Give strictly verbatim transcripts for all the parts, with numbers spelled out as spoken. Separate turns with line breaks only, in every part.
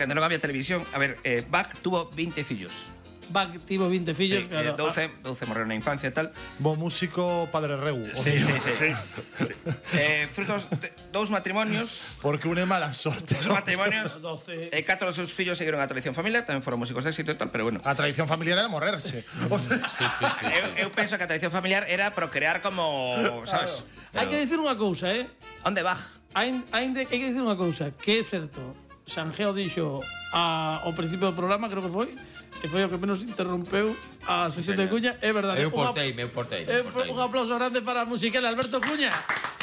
cando non había televisión, a ver, eh, Bach tuvo veinte fillos.
Bach tivo veinte fillos,
sí,
claro.
eh, doce, doce morreron na infancia e tal.
Bo músico Padre Regu.
Sí, sí, sí. sí. eh, frutos de dous matrimonios.
Porque une mala sorte.
Dos matrimonios.
doce.
E catro dos seus fillos seguiron a tradición familiar, tamén foron músicos de éxito e tal, pero bueno.
A tradición familiar era morrerse.
Sí, sí, sí.
eu, eu penso que a tradición familiar era procrear como, sabes?
Hai que dicir unha cousa, eh?
Onde Bach?
Hai, hai, de, hai que dicir unha cousa, que é certo. Sanjeo dixo a, ao principio do programa, creo que foi, e foi o que menos interrompeu a sección de Cuña, é verdade.
Eu portei, eu portei.
Eh, un aplauso grande para a musical Alberto Cuña.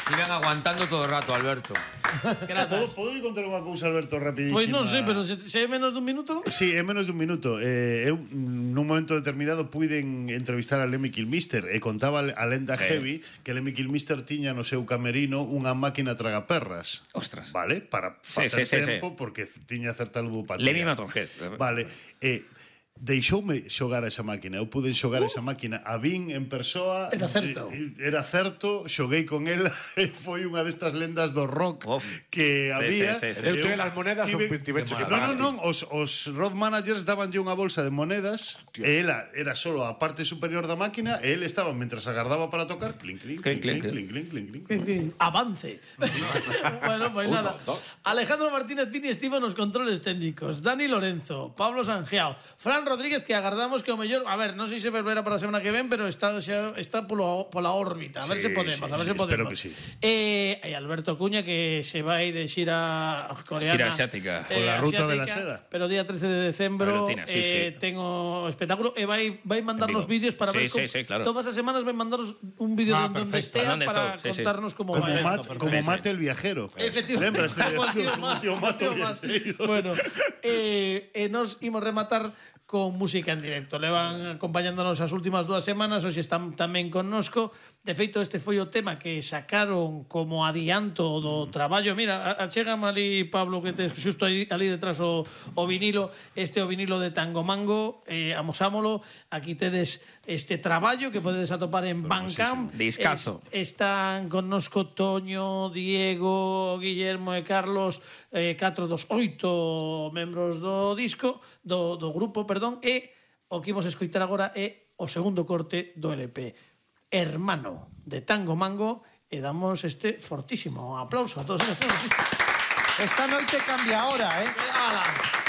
Iban aguantando todo o rato, Alberto.
Podo, podo contar unha cousa, Alberto, rapidísima?
Pois non sei, pero se, se é menos dun minuto...
Sí, é menos dun minuto. Eh, eu, nun momento determinado, puiden entrevistar a Lemmy Kilmister e contaba a lenda
Sí.
heavy que Lemmy Kilmister tiña no seu camerino unha máquina tragaperras.
Ostras.
Vale? Para
Sí,
facer
sí, sí,
tempo,
sí.
porque tiña certa ludopatía.
Lemmy Motorhead.
Vale. Eh, deixoume xogar a esa máquina. Eu pude xogar uh. esa máquina. A vin en persoa.
Era certo.
eh, Era certo, xoguei con ela e foi unha destas lendas do rock
Uf.
que
Sí,
había.
sí, sí, sí.
Eu tuve as monedas un
tive-
pintivecho que
No, no, non, os, os road managers dabanlle unha bolsa de monedas e ela era solo a parte superior da máquina e ele estaba, mentras agardaba para tocar, clink, clink, clink, clink, clink, clink, clink, clink.
Avance. Bueno, pues nada. Alejandro Martínez Pini estivo nos controles técnicos. Dani Lorenzo, Pablo Sanjeao, Fran Rodríguez, que agardamos que o mellor, a ver, non sei se volverá para a semana que ven, pero está xa, está polo, pola órbita. A ver
Sí,
se podemos,
sí,
a ver
sí,
se podemos.
espero que sí.
Eh, e Alberto Cuña, que se vai de xira coreana.
Xira asiática.
Con la ruta de la
asiática,
seda.
Pero día trece de decembro
Argentina, sí,
eh,
sí.
tengo espectáculo e vai vai mandarnos
En vivo.
vídeos para
Sí,
ver como,
sí, sí, claro.
todas as semanas vai mandarnos un vídeo
Ah,
de onde
perfecto.
estea
¿Dónde
para
estou? Sí, sí.
contarnos como
Como,
vai.
mat, como
Sí, sí.
mate el viajero.
Efectivamente.
Lembras de
Como el tío
como
Mato,
tío Mato
como el tío Mato.
viaxeiro?
Bueno, eh, eh, nos imos rematar con música en directo. Levan acompañándonos as últimas dúas semanas, hoxe están tamén connosco. De feito, este foi o tema que sacaron como adianto do traballo. Mira, achégame ali, Pablo, que tes xusto ali, ali detrás o, o vinilo, este o vinilo de Tango Mango, eh, amosámolo. Aquí tedes este traballo que podedes atopar en Bandcamp.
Discazo.
Es, están connosco Toño, Diego, Guillermo e Carlos, eh, catro dos oito membros do disco, do, do grupo, perdón, e o que imos escoitar agora é o segundo corte do L P, Hermano, de Tango Mango, e damos este fortísimo aplauso a todos eles.
Esta noite cambia ahora, eh?
Ala.